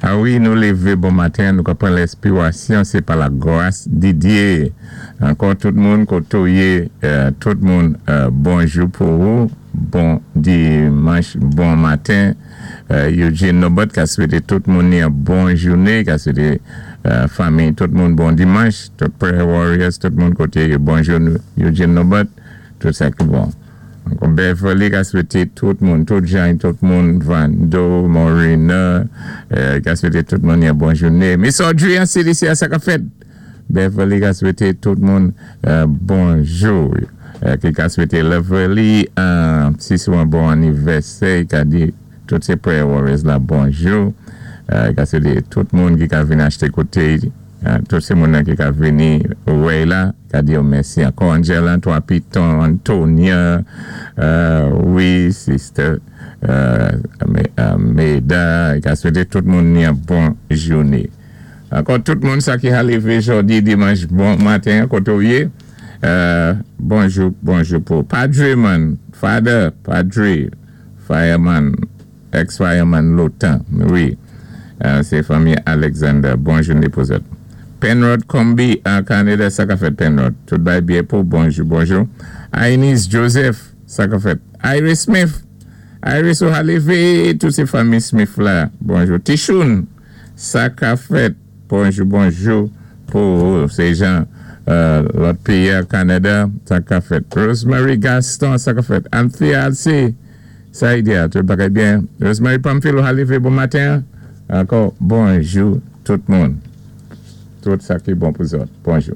A wi, nou lévé bon maten, nou ka pran lenspiwasyon, sé pa la gwas di Dye. Ankò tout moun koté ou yé, tout moun bonjou pou ou, bon dimanch, bon maten. Eugene Nobot ka swété tout moun ni yon bon jouné, ka swété fanmi tout moun bon dimanch, tout prayer warriors, tout moun koté yo, bonjou Eugene Nobot, tout sa ki bon. Ankò Beverly ka swété tout moun, tout jan, tout moun, Vando, Morena, ka swété tout moun yon bon jouné. Miss Audrey an CDC a, sa ka fèt? Beverly ka swété tout moun bonjou. Ki ka swété Beverly si sou an bon anivèsè, ka di tout sé prayer warriors la bonjou. Ka swété tout moun ki ka vin achté koté, tout sé moun nan ki ka vini wè la, ka di yo mèsi ankò. Angela, Trois Pitons, Antonia, wi, sister Meda, ka swété tout moun ni an bon jouné. Ankò tout moun sa ki ha lévé jòdi dimanch bon maten koté ou yé, bonjou, bonjou pou Padre man, Father Padre, fireman, ex-fireman lontan, wi, sé fanmi Alexander, bon jouné pou zòt. Penrod Combi an Canada, sa ka fèt, Penrod? Tout bay byen pou, bonjou, bonjou. Ainis Joseph, sa ka fèt? Iris Smith, Iris ou ha lévé, tout sé fanmi Smith la, bonjou. Tichoun, sa ka fèt? Bonjou, bonjou pou sé jan lòt péyi a Canada, sa ka fèt? Rosemary Gaston, sa ka fèt? Anthea Alcé, sa yi di a, tout bagay byen? Rosemary Pamphile, ou ha lévé bon maten? Ankò bonjou tout moun. Tout sa ki bon pou zòt. Bonjou.